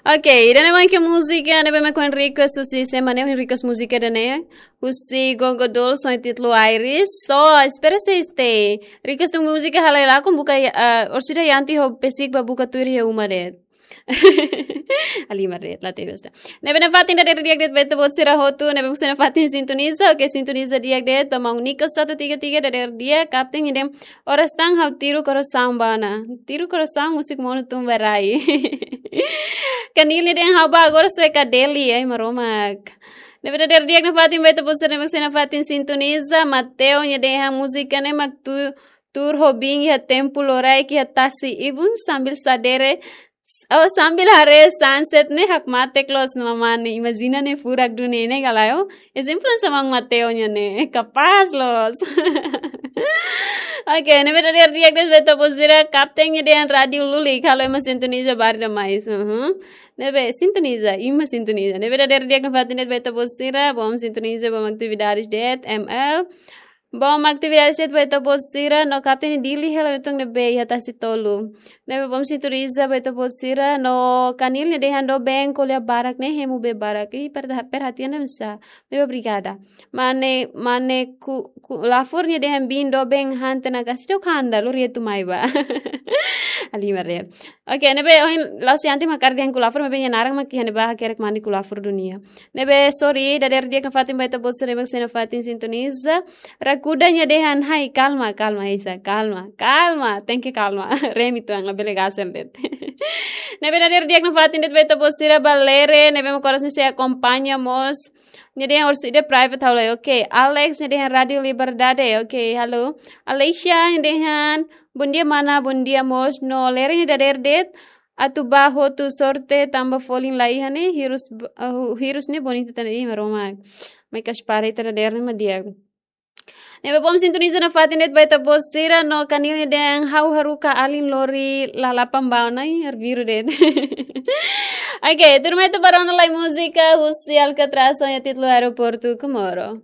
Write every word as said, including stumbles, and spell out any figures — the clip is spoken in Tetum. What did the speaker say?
Ok, ida-ne'e mak múzika ne'ebé mak ohin request husi semana ne'e, ohin request múzika ida-ne'e husi Gogo Dolls ho títulu Iris. So, espera sei stay. Request múzika halai lakon buka, ah, orsida Yanti ho Pesik ba buka tuir iha uma de'it. Halimar de'it, la tebes. Ne'ebé nafatin dadeer di'ak de'it ba ita-boot sira hotu, ne'ebé mós nafatin sintoniza, ok, sintoniza di'ak de'it ba maun Nico satu tiga tiga dadeer di'ak, kapten ida-ne'e oras tan ha'u tiru korasaun ba ona. Tiru korasaun múzika monu tun ba rai. Kanil nia dehan ha'u ba agora sue ka Delhi, ai Maromak. Ne'ebé dadeer di'ak nafatin ba ita-boot sira ne'ebé mós nafatin sintoniza, Mateo nia dehan múzika ne'e mak tu, tuur ho biin iha tempu loraik iha tasi ibun sambil sadere, oh, sambil haree sunset ne'e hakmatek loos, mamane, imajina ne'e furak duni ne'e ka lae. Ezemplu hanesan maun Mateo nia ne'e, kapás loos. Ok, ne'ebé dadeer di'ak de'it ba ita-boot sira, kapten nia dehan rádiu lulik, halo ema sintoniza ba rai ida mais. Uhum. Ne'ebé sintoniza, ema sintoniza. Ne'ebé dadeer di'ak nafatin de'it ba ita-boot sira, bom sintoniza, bom atividades de'it, M L. Bom atividades de'it ba ita-boot sira, no kapten Dili hela utung ne'ebé iha tasi tolu. Ne'ebé bom sintoniza ba ita-boot sira, no Kanil nia dehan doben ko'alia barak ne'e hemu bee barak. Ih, perha-, perhatian ne'e nusá. Bebe obrigada. Mane, mane ku, ku lafur nia dehan biin doben han tena kasi do kanda, lori etu mai ba. Halimar de'it. Ok, ne'ebé ohin la'ós Yanti mak hakarak dehan ku lafur, maibé nia naran mak iha ne'ebá hakerek mane ku lafur dunia. Ne'ebé sorry, dadeer di'ak nafatin ba ita-boot sira ne'ebé mós nafatin sintoniza. Rakuda nia dehan hai, kalma, kalma, Isa, kalma, kalma, tenke kalma. Remi tuan, labele gasel de'it. Ne'ebé dadeer di'ak nafatin de'it ba ita-boot sira ba Lere, ne'ebé mak oras ne'e sei akompaña mós. Nia dehan orsida private ha'u lai. Ok, Alex nia dehan Rádiu Liberdade. Ok, halo. Alexia nia dehan, bom dia mana, bom dia mós. No Lere nia dadeer de'it, atu ba hotu sorte tanba folin la iha ne'e, hirus b-, ah, hu-, hirus ne'e bonitu tan, ih Maromak. Mai kas para ita dadeer ne'e mak di'ak. Ne'ebé bom sintoniza nafatin de'it ba ita-boot sira, no Kanil nia dehan ha'u haruka alin lori lalapan ba ona, ih, arbiru de'it. Ok, tuirmai ita ba rona lai múzika husi Alcatraz ho títulu Aeroportu Comoro.